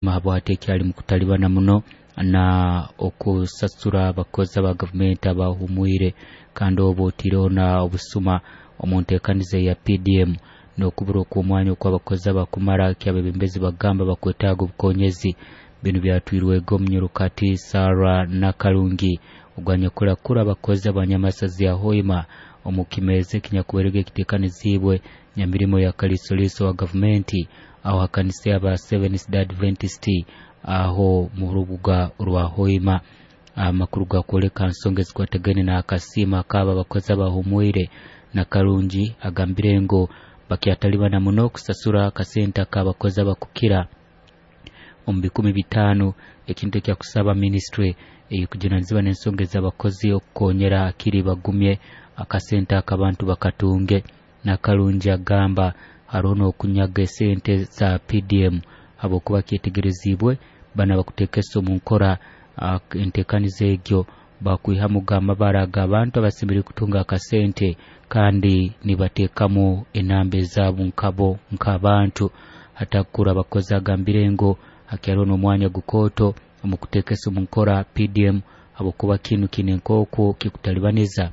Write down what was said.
Habwati ekyali mukutalibana muno na okusasura abakozi aba gavumenti abahumwire, kandi obu otiireho na obusuma omu nteekaniza ya PDM n'okubura okw'omwanya okw'abakozi abakumara kyabebembezi bagamba bakwetaaga obukonyezi. Binu byatwirwege omunyurukati Sarah Nakalungi ogwanyakurakura abakozi abanyamasazi ya Hoima omu kimeeza ekinyakubairege ekiteekaniziibwe nyamirimo ya kaliisoliiso wa gavumenti aho ha kanisa y'aba Seventh Day Adventist aho mu rubuga rwa Hoima. Amakuru gakwoleka nsonga ezikwatagaine n'akasiimo ak'abo abakozi abahumwire. Nakalungi agambire ngu bakyatalibana muno kusasura akasente ak'abakozi abakukira omu 500,000, ekintu ekyakusaba minisitule ey'okujunanizibwa n'ensonga ez'abakozi okukonyera akiri bagumye akasente ak'abantu bakatunge. Nakalungi agamba haroho n'okunyaga esente za PDM habwokuba kyetegereziibwe banu abakuteekesa omu nkora enteekaniza egyo bakwihamuga amabara g'abantu abasemeriire kutunga akasente kandi nibateekamu enamba ezaabo nkabo nk'abantu. Hatakura abakozi agambire ngu hakyariho n'omwanya gukooto omu kuteekesa omu nkora PDM habwokuba kinu kiine nk'oku kikutalibaniza